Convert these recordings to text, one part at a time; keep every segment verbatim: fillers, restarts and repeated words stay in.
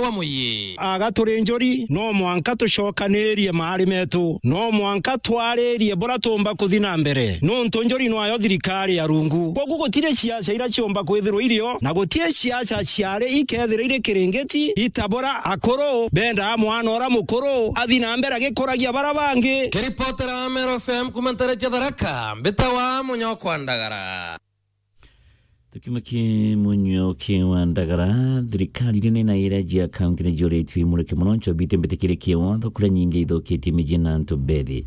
wa muyi. Aga turi njuri, no mwanka tucokanirie maari metu. No mwanka twaririe bura tumba kuthi na mbere. Nuntu njuri nwayo thirikari ya rungu. Kwogu gutiri ciaca ira ciumba kwithirwa irio, na gutiri ciaca ciari ikethira iri kiringiti, itabura akuru, bendaa mwana ura mukuru athi na mbere agikuragia bara bangi. Kiripotera wa Meru F M kuma ntere cia Tharaka, mbita wa Munyokwa Ndagara. Tukiuma ki Munyokwa Ndagara, thirikari iria nene iria cia kaunti ni jioritwe imurike mono nchobi itimbitikirie kiwatho kuria nyingi ithukitie miji na antu bethi.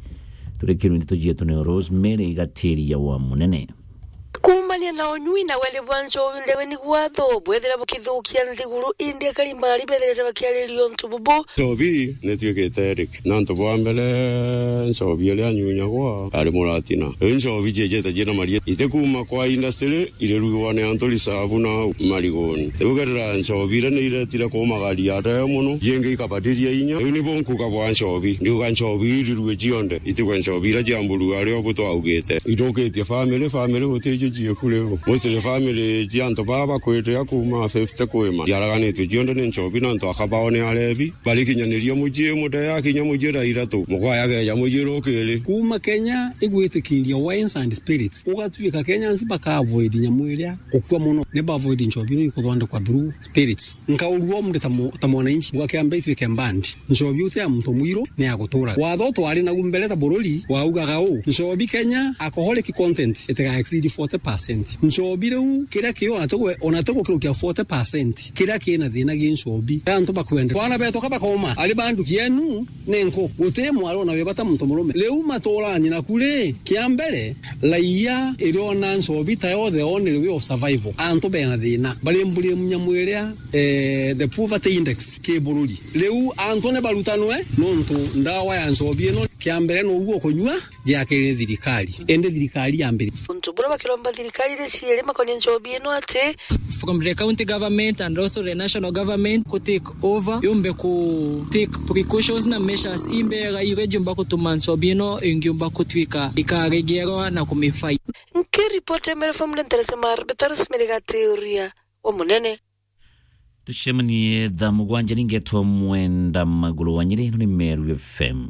Turi kiru ndeto cietu ni Rosemary Gatiria wa Munene. Kuumania na unyui na weri bwa nchobi ndewe ni gwatho bwethira bukithukia nthiguru, indi akari mbari bethirite bakiariria untu bubu. Nchobi ni tuikite rik. Na antu bwa mbere, nchobi iria anyunyagwa ari muratina. Riu nchobi ciejete ciina maria. Iti kuuma kwa industry, irerugwa ni antu risabu na marigoni. Riu ukerera nchobi iria ni iretire kumagaria aria mono, jingi ikabatiria inya. Riu nibo nkuga bwa nchobi. Ndiuga nchobi irirue cionthe. Itigwe nchobi iria cia mburu aria ubu twaugite. Ithukitie family, family guti icio ciiku riu. Mostly family cia antu baa bakwite a kuuma fifty kwima. Ciaraganitue cionthe ni nchobi na antu akabao ni arebi. Barikinyaniria mucii, mutee akinya mucii thaa ithatu, mukwaya akeeja mucii rukiri. Kuuma Kenya igwitikiria wines and spirits, ugatuika Kenyans baka avoid nyamu iria ukua mono, ni ba avoid nchobi ino ikuthondekwa through spirits. Nkaurua mri ta mu-, ta mwananchi, buga kiambe itwike band. Nchobi uti ya muntu mwiru, ni ya gutura. Watho twari nagu mbere ta bururi, waugaga uu, nchobi Kenya, alcoholic content itiga exceed forty percent. Nchobi riu, kiria kio ona tigwe-, ona tigukirukia forty percent. Kiria kina thina gi nchobi. Antu bakwende. Bwana betu ka bakoma, ari bandu kienu, nenko. Guti mwari ona wi bata muntu murume. Riu maturani naku ri, kia mbere, raia iriona nchobi ta yo the only way of survival. Antu bena thina. Bari mburi nyamu iria, eh, the poverty index ki bururi. Riu antu ni barutanwe, nontu ndawa ya nchobi ino, kia mbere no uguo kunyua, gia keri ni thirikari. Indi thirikari ya mbere. Untu buria bakiromba thirikari iri ciiri makonie nchobi ino ati, from the county government and also the national government ku take over, yumbe ku take precautions na measures imbega iria jiumba gutuma nchobi ino ingiumba gutwika ikaregerwa na kumifight. Nkiripoti Meru F M nderesemar Betarus Merigatiuria wa Munene. Tucemanie thaa mugwanja, ningetwa Mwenda Maguru wa Nyeri, ino ni Meru F M.